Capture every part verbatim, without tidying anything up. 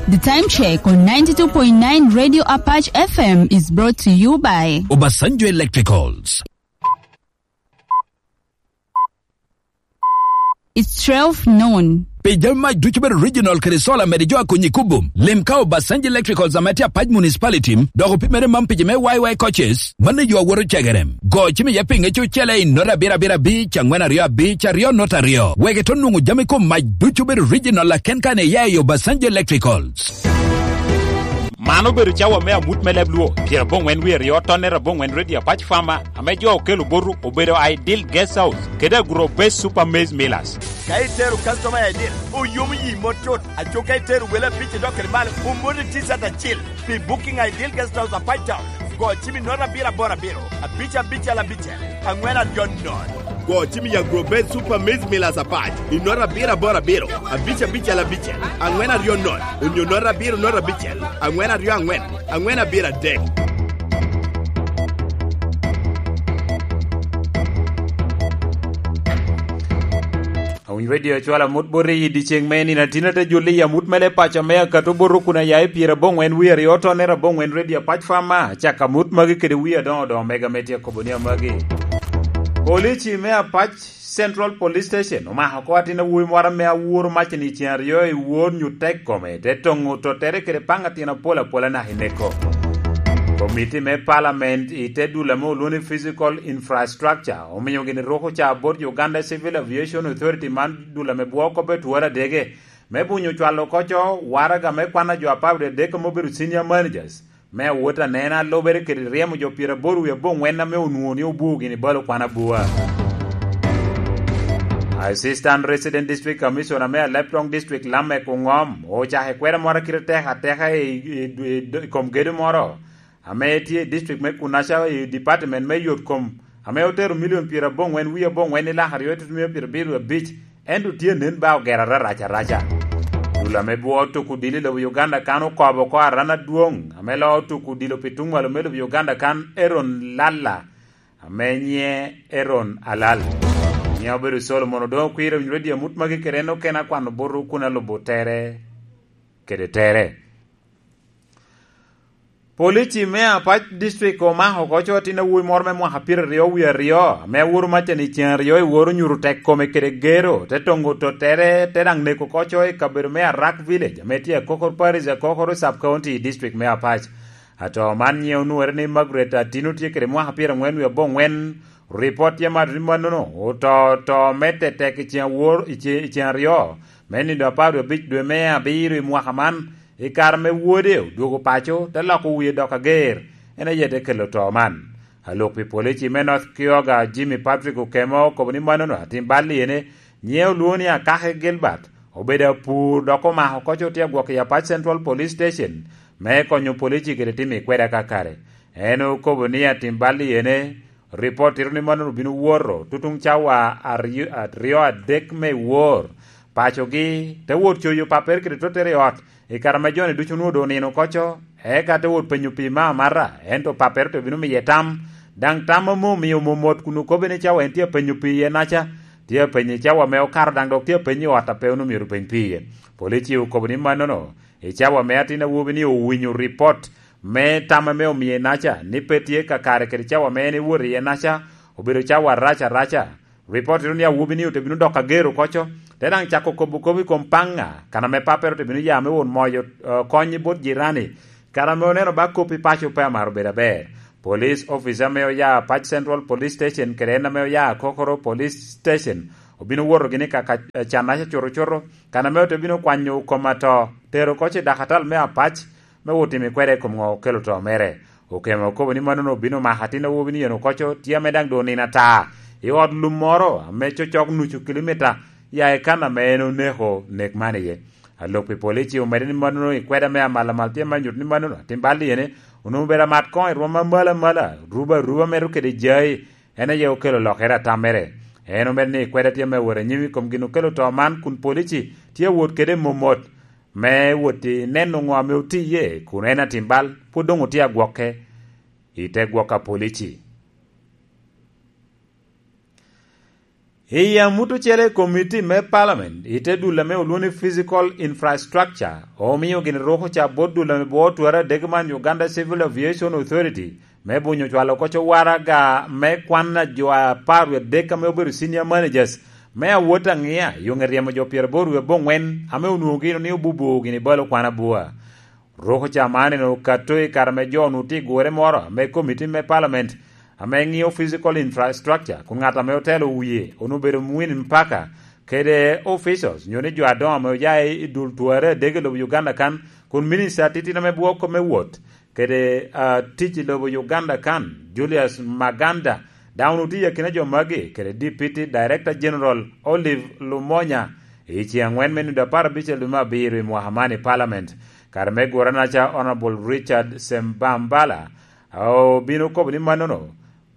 The time check on ninety-two point nine Radio Apache F M is brought to you by Obasanjo Electricals. It's twelve noon. Pi jami mac ducu bedo original kede solar mede jo a konyi kubo. Lim ka Obasanjo Electricals ame tye Apac Municipality, dok opimere man pi ji me Y Y coaches, mano yo awoto cegere. Go cim iye pinge cucele i nota abiro abiro abic, angwen aryo abic, aryo nota aryo. Wek ito nwoŋo jami kom mac ducu bedo original aken kan iya i Obasanjo Electricals. Man obedo cawa me amut me leb Luo, pyerabongwen wie aryo tonne rabongwen Radio Apac Farmer, ame jo okelo botu obedo Ideal Guest House, kede Agro Base Super Maize Millers. Ka itero customer I D, oyomo yi mot cut. Aco ka itero wele abic idok kede malo, omoti T-shirt acil. Pi booking Ideal Guest House Apac Town, go cim i nota abiro aboro abiro, abic abicel abicel, angwen aryo nono. Go cim i Agro Base Super Maize Millers Apac i nota abiro aboro abiro, abic abicel abicel, angwen aryo nono, onyo nota abiro nota abicel, angwen aryo angwen, angwen abiro adek. Awinyo Radio acwalo amut bot i dyeceŋ me nino atin ate jolli i amut mele paco me akato bot kun aya i pyerabongwen wie aryo tonne rabongwen Radio Apac Farmer, acako amut magi kede wie adoŋo doŋo mega me tye akobo ni amagi. Polici me Apac Central Police Station omako oko atin awobi moro ame aworo macen i ceŋ aryo i wor nyutek kome, te toŋo tottere kede paŋ atin apol apol anaka i neko. Komiti me Parliament i te dul ame olwoŋo ni Physical Infrastructure omio gini ruko ca bot Uganda Civil Aviation Authority man dul ame bwoo kop etworo adege me bunyo cwalo oko co waraga me kwan a jo apar wie adek ame obedo senior managers me awot anena a lubere kede ryemo jo pyeraboro wie abongwen ame onwoŋo ni obwo gini balo kwan abua. Assistant Resident District Commissioner me Aleptong District Lamek Ongom ocako ekwero moro a kite tek ateka i, i, i, i kom gedo moro ame tye i district me Kunaca i department me yot kom ame otero milion pyerabongwen wie abongwen i lak aryo i tutumia pyerabiro abic, ento tye nen ba ogero ararac araca. Dul ame bwo tuko odilo i lobo Uganda kan okobo oko aran adwoŋ ame loo tuko odilo pi tuŋ malo me lobo Uganda kan Aaron Lalla, ame nyiŋe Aaron Alal. Nyiŋe obedo Solomon Odoŋo Kwir, owinyo radio amut magi kede en okene akwano botwu kun alubo tere kede tere. Polici me Apac District omako oko co atin awobi moro me mwaka pyeraryo wie aryo, ame aworo macen i ceŋ aryo i woro nyuto tek kome kede gero, te toŋo tottere, te daŋ neko oko co i kabedo me Arak Village, ame tye Akokor Parish, Akokor Sub County, i District me Apac. Ato man nyiŋe onwore ni Margaret Atino tye kede mwaka pyerangwen wie abongwen. Ripot tye mato ni mannono oto to me tetek i ceŋ awor, i ce-, i ceŋ aryo me nino apar wie abic dwe me abiro i mwaka man, i kare ame wode odwogo paco, te loko wie dok ager, en aye te kelo to man. Alok pi polici me North Kyoga, Jimmy Patrick Okemo, okobo ni mannono atin bal iyene, nyiŋe olwoŋo ni Akake Gilbert, obedo apur dok omako oko co tye agwok i Apac Central Police Station me konyo polici kede timo i kwede akakare. En okobo ni atin bal iyene, ripot tito ni mannono obino woto tutuŋ cawa aryo, aryo adek me wor pacogi, te wot coyo pappere kede tottere i ot, i kare ame joni ducu onwoŋo doŋ onino oko co, eka te wot penyo pi me amata, ento pappere to bino miye tam, daŋ tam ame omio momot kun okobbe ni cawa en tye apenyo pi iye naca, tye apenyo i cawa ame okato daŋ dok tye apenyo i ot a pe onwoŋo myero openy pi iye. Polici okobo ni mannono, i cawa ame atin awobi ni owinyo ripot me tam ame omie naca ni pe tye kakare kede cawa ame en ewot iye naca, obedo cawa arac araca. Ripot tito ni awobi ni ote bino dok ager oko co, te daŋ cako kobo kop i kom paŋ ŋa, kan ame pappere ote bino ya me wot moyo, eh, kony bot jirani, kan ame oneno ba kop i paco pe amaro bedo aber. Police officer ame oya Pac Central Police Station kede en ame oya Kokoro Police Station obino woto gini ka, ka, eh, cannaca cuto cuto, kan ame ote bino kwanyo kom ato, tero oko i dakatal me Apac, me wot timo kwede i kom ŋo okelo to mere. Okemo okobo ni mannono obino mako atin awobi ni en oko co, tye ame daŋ doŋ nino ata i ot lum moro ame cocok nucu kilimita ya i kan ame en oneko nek man iye. Alok pi polici omedde ni mannono i kwede ame amal amal tye me nyuto ni mannono atin bal iyene onwoŋo obedo amat koŋ i rwom amal amala, ruba aruba medo kede jai, en aye okelo lokere atammere. En omedde ni kwede tye me wot anyim i kom gin okelo to man kun polici tye awot kede momot me wot i neno ŋo ame otiye, kun en atin bal pwod doŋ otye agwokke i te gwok a polici. I amut ocele, komiti me Parliament i te dul ame olwoŋo ni Physical Infrastructure omio gin ruko ca bot dul ame bwoo twara adek man, Uganda Civil Aviation Authority, me bunyo cwalo koc owaraga me kwan a jo apar wie adek ame obedo senior managers me awot aŋia i oŋe ryemo jo pyeraboro wie aboŋwen ame onwoŋo gino ni obubo gini balo kwan abua. Ruko ca man en okato i kare ame jo onwoŋo tye i gure moro ame komiti me Parliament ame ŋio Physical Infrastructure, kun ŋat ame otelo wie onwoŋo obedo Mwin Mpaka kede officials nyo ni jo adoŋo ame oya i dul tware adek i lobo Uganda kan, kun minista titino me bwoko me wot kede ah, tic i lobo Uganda kan, Julius Maganda, daŋ onwoŋo tye i akina jo magi kede Deputy Director General Olive Lumonya i ceŋ aŋwen me nino apar abicel dwe me abiro i mwaka man i Parliament. Kare me guranaca, Honorable Richard Sembambala obino kobo ni mannono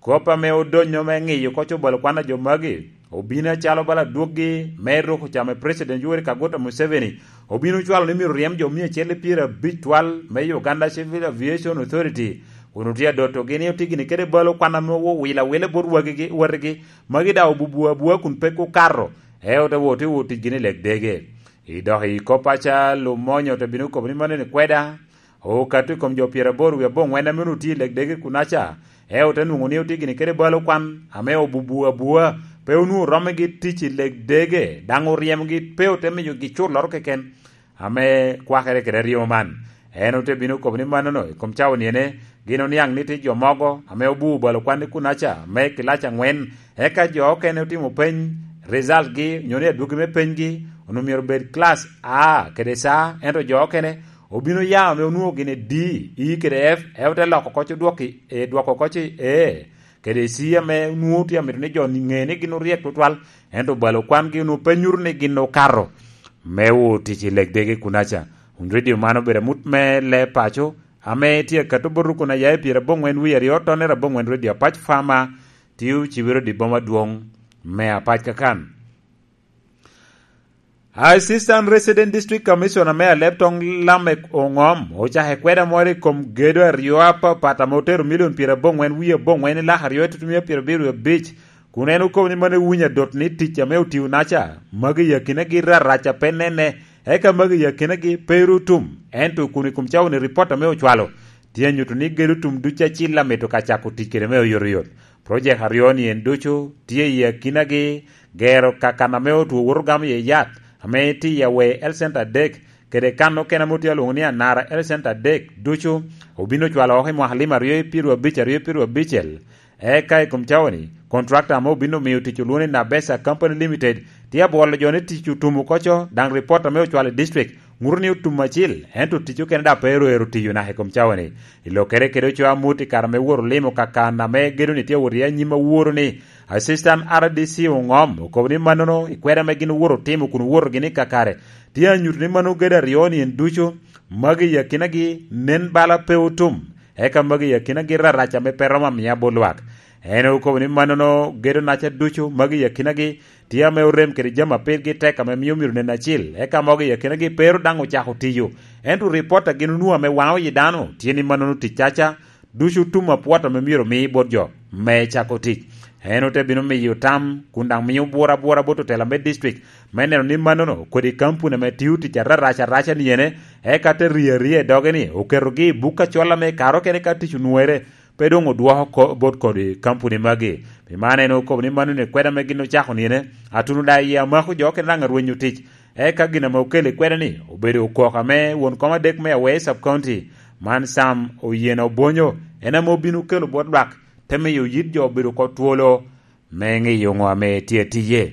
kop ame odonyo me ŋiyo koc obalo kwan a jo magi obino acalo bala adwoggi me ruko cam i President Yoweri Kaguta Museveni. Obino cwalo ni myero ryem jo mia acel i pyerabicel twal me Uganda Civil Aviation Authority, kun otye adotogi ni otye gini kede balo kwan ame owilo awila bot wagigi, watigi, magi daŋ obubu abua kun pe okato, eo te wot i wot ticgi ni leg dege. I dok i kop aca, Lumonyo te bino kobo ni mano ni kweda okato i kom jo pyeraboro wie aboŋwen ame onwoŋo tye i leg dege kunaca, eo te nwoŋo ni otye gini kede balo kwan ame obubu abua, pe onwoŋo romogi tic i leg dege, daŋ oryemogi pe ote miyogi culloro keken ame kwakere kede aryo man. En ote bino kobo ni mannono i kom cawa niene, gin oniaŋ ni tye jo mogo ame obubo balo kwan i kunaca me kilac aŋwen, eka jo okene otimo peny, resultgi nyo ni adwogi me penygi onwoŋo myero obed class A kede C, ento jo okene obino ya ame onwoŋo gin i D, E kede F, eo te loko koc odwoko i, e, dwoko koc i A kede C ame onwoŋo tye amito ni jo ŋe ni gin oryek tutwal, ento balo kwangi onwoŋo pe nyuto ni gin okato me wot tic i leg dege kunaca. Wun redio man obedo amut me le paco ame tye akato bot rukun a yaye pyeraboŋwen wie aryo, tonere aboŋwen redio apac fama, tye ocibere odi boma adwoŋ me apac kakan. Assistant Resident District Commissioner me Aleb Toŋ Lamek Oŋom ocako ekweda moro i kom gedo aryo apapat ame otero milion pyeraboŋwen wie aboŋwen i lak aryo i tutumia pyerabiro abic, kun en okobo ni mano ewinyo adot ni tic ame otio naca, magi i akinagi rarac a pe nene, eka magi i akinagi pe ru tum. Ento kun i kom cawa-ni, ripot ame ocwalo tye anyuto ni gedo tum ducu acil amito ka cako tic kede me oyotoyot. Projek aryo-ni en ducu tye i akinagi gero kakan ame otwo woto gamo iye yat ame tye i Awe Health Center adek, kede kan okene ame otye alwoŋo ni Anara Health Center adek ducu obino cwalo oko i mwaka lim aryo i pyerabicel, aryo i pyerabicel. Eka i kom cawa-ni, kontrakta ame obino miyo tic olwoŋo ni Nabesa Company Limited tye abwolo jo ni tic otum oko co, daŋ ripot ame ocwalo i district ŋuto ni otum acil, ento tic okene daŋ pe ero ero tiyo naka i kom cawa-ni. I lokere kede ocoa amut i kare ame woro limo kakan ame gedo-ni tye awot iye anyim aworo ni, Assistant R D C Oŋom okobo ni mannono i kweda ame gin owoto otimo kun owoto gini kakare tye anyuto ni mano gedo aryo-ni en ducu, magi i akinagi nen bala pe otum, eka magi i akinagi rarac ame pe romo amiya bot lwak. En okobo ni mannono gedo naca ducu, magi i akinagi tye ame orem kede jami a pirgi tek ame mio myero nen acil, eka mogo i akinagi pe ru daŋ ocako tiyo. Ento ripot a gin onwoŋo ame waŋo yi dano tye ni mannono tic caca ducu tum apwot ame myero omi bot jo me cako tic. En ote bino miyo tam kun daŋ miyo bwura abwura bot otela me district me neno ni mannono kodi kampuni ame tio tic ararac araca ni ene, eka te rie aria i doge ni oketogi i buk acol ame i kare okene ka tic onwere, pe doŋ odwoko ko-, bot kodi kampuni magi. Pi man en okobo ni mannono ekweda ame gin ocako ni ene, atuno daŋ iye amako jo okene daŋ arwenyo tic. Eka gin ame okelo ekweda ni obedo okok ame won kom adek me Awe Sub County, man Sam Oyen Obonyo, en ame obino kelo bot lwak, te miyo yit jo obedo oko twolo me ŋeyo ŋo ame tye atiye.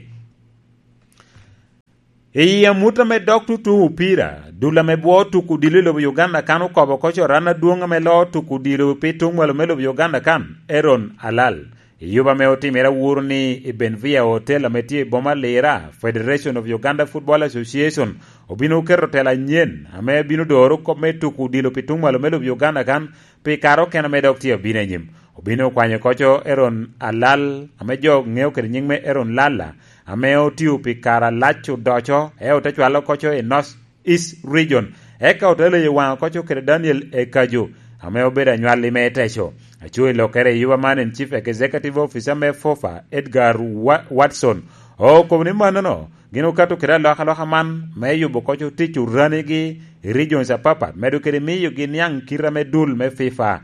I amut ame dok tutu opira, dul ame bwo tuko odilo i lobo Uganda kan okobo oko coran adwoŋ ame loo tuko odilo pi tuŋ mwalo me lobo Uganda kan, Aaron Alal. I yuba ame otimere awuro ni i Benvia Hotel ame tye i boma Lira, Federation of Uganda Football Association obino keto tela anyen ame bino doro kop me tuko odilo pi tuŋ mwalo me lobo Uganda kan pi kare okene ame dok tye abino anyim. Obino okwanyo koco Aaron Alal, ame jo ŋeo kede nyiŋ me Aaron Lalla, ame otio pi kare alac odoco, eo te cwalo koco i North East Region, eka ote leyo waŋe koco kede Daniel Ekajo, ame obedo anywalli me Teco. Aco i lokere i yuba man en Chief Executive Officer me FOFA, Edgar Wa-, Watson, Okobo ni mannono, gin okato kede alokaloka man me yubo koc otic oranigi i regions apapat, medo kede miyogi niaŋ kite ame dul me fifa,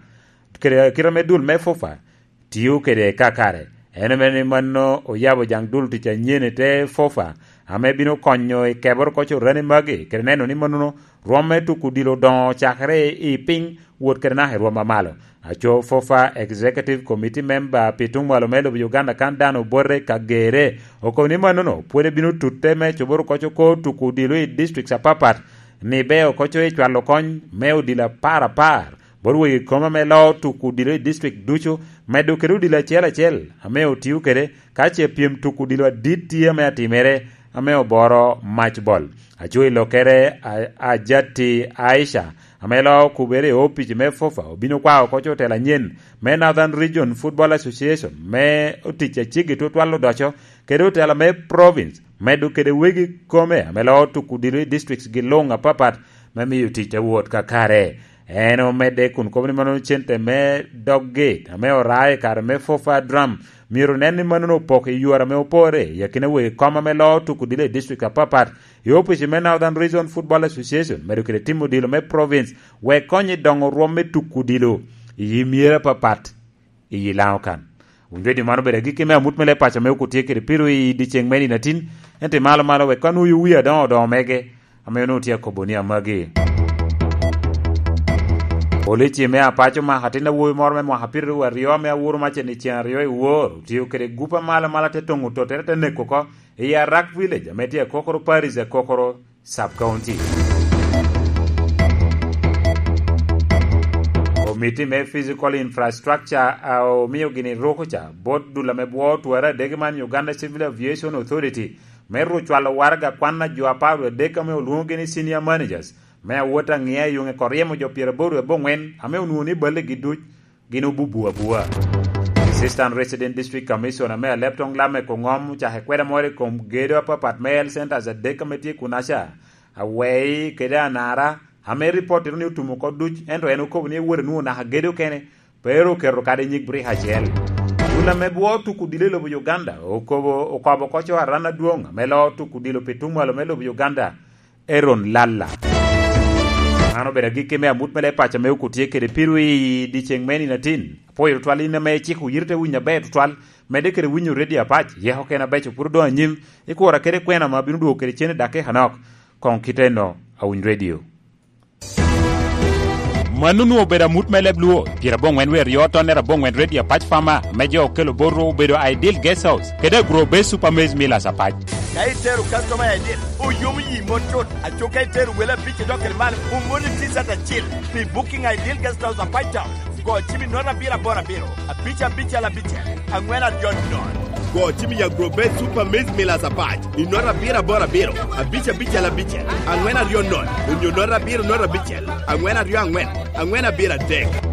kede kite ame dul me fufa tio kede kakare. En omio ni manno oyabo jaŋ dul tic anyen i te fufa, ame bino konyo i keboro koc orani magi, kede neno ni mannono rwom me tuko odilo odoŋo cakere i piny wot kede naka i rwom amalo. Aco Fofa Executive Committee Member pi tuŋ mwalo me lobo Uganda kan dan obote ka gere, okobo ni mannono pwod ebino tutte me coboro koc oko tuko odilo i districts apapat, ni be okoco i cwalo kony me odilo apar apar bot wegi kom ame loo tuko odilo i district ducu, medo kede odilo acel acel ame otio kede, ka ce pyem tuko odilo adit tye ame atimere, ame oboro mac bol. Aco i lokere, a-, Ajati Aisha, ame loo okubere i opic me Fofa, obino kwao koc otelo anyen me Northern Region Football Association, me otic aceggi tutwal odoco, kede otelo me province, medo kede wegi kome ame loo tuko odilo i districts gi luŋ apapat, me miyo tic te wot kakare. En omedde kun kobo ni mano cente me dog gate ame oraa i kare me Fofa Drum myero nen ni mano opoko i yore ame opore i akina wegi kom ame loo tuko odilo i district apapat, i opic me Northern Region Football Association, medo kede timo odilo me province, wek kony i doŋo rwom me tuko odilo i myero apapat i Laŋo kan. Wun redio man obedo agikki me amut me leb paco ame okut tye kede piro i dyeceŋ me nino atin, ento i malo malo wek ka nwoyo wi adoŋo odoŋo mege, ame onwoŋo tye akobo ni amagi. Polici me Apac omako atin awobi moro me mwaka piraryo aryo ame awuro macen i ceŋ aryo i wor, otio kede gup amalo amalo te toŋo tottere te neko oko i Arak Village ame tye Akokoro Parish, Akokoro Sub County. Komiti me Physical Infrastructure a omio gini ruko ca bot dul ame bwo twara adege man Uganda Civil Aviation Authority me ru cwalo waraga kwan a jo apar wie adek ame olwoŋogi ni senior managers me awot aŋia i yuŋe koryemo jo pyeraboro wie abongwen ame onwoŋo ni balle gi duc gin obubu abua. Assistant Resident District Commissioner me Alebtong Lamek Ongom ocako kweda moro i kom gedo apapat me health centers adek ame tye kunaca, Awei kede Anara, ame ripot tito ni otumo oko duc, ento en okobo ni ewot enwoŋo naka gedo kene, pe ru oketo kadi nyig brika acel. Dul ame bwo tuko odilo i lobo Uganda okobo, okobo koco aran adwoŋ ame loo tuko odilo pi tuŋ mwalo me lobo Uganda, Aaron Lalla. Man obedo agikki me amut me leb paco ame okutye kede pirwi i dyeceŋ me nino atin. Apwoyo tutwal in ame iciko yiri te winyo aber tutwal, medde kede winyo redio Apac, yeko kene abeco pwod odoŋ anyim, ikura kede kwena ame abino dwogo kede cen i dakika anok. Koŋ kite enno, awiny redio. Mano onwoŋo obedo amut me leb Luo, pyerabongwen wie aryo tonnere abongwen redio Apac Farmer, me jo okelo bot ru obedo Ideal Guest House, kede Agro Base Super Maize Millers Apac. Ka itero customer I D, oyomo yi mot tut. Aco ka itero wele abic idok kede malo, omoni T-shirt acil pi booking Ideal Guest House Apac Town. Go cim i note abiro aboro abiro, abic abicel abicel, angwen aryo nono. Go cim i Agro Base Super Maize Millers Apac i note abiro aboro abiro, abic abicel abicel, angwen aryo nono, onyo note abiro note abicel, angwen aryo angwen, angwen abiro adek.